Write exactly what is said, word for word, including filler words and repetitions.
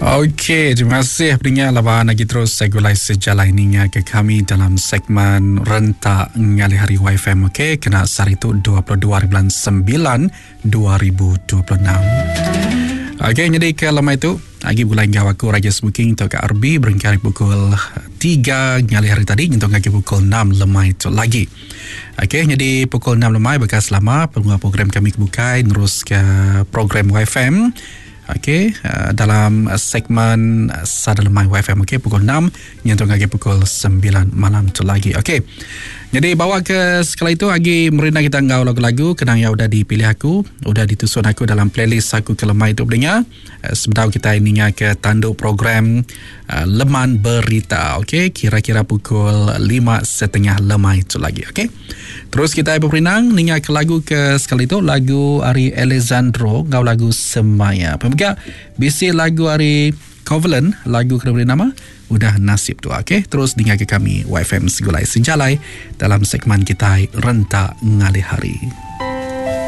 Okey, terima kasih pendengar laban lagi terus segulai sejalai ninga ke kami dalam segmen Rentak Ngalih Hari Y F M. Okey, kena sehari tu dua puluh dua bulan sembilan dua ribu dua puluh enam. Okey, jadi ke lama itu lagi bulan gawa aku Raja Smoking untuk ke R B berengkari pukul tiga ngalih hari tadi nyentuh lagi pukul enam lemai tu lagi. Okey, jadi pukul enam lemai bekas lama pengguna program kami kebukai terus ke program Y F M. Okey, uh, dalam segmen Sada Lemai Y F M, okey, pukul enam nyentuh lagi pukul sembilan malam tu lagi. Okey. Jadi bawa ke sekali itu lagi merina kita ngau lagu-lagu kenang yang udah dipilih aku, udah ditusun aku dalam playlist aku ke lemai itu pendengar. Uh, sebentar kita ingat ke tanduk program, uh, Leman Berita. Okey, kira-kira pukul lima setengah lemai itu lagi. Okey. Terus kita berperinang ninga ke lagu ke sekali itu lagu Ari Alessandro ngau lagu Semaya. Pemuka bisi lagu Ari Covenant, lagu kena beri nama Udah Nasib Tu. Okey, terus dengar ke kami Y F M Segulai Sejalai dalam segmen kita Rentak Ngalih Hari.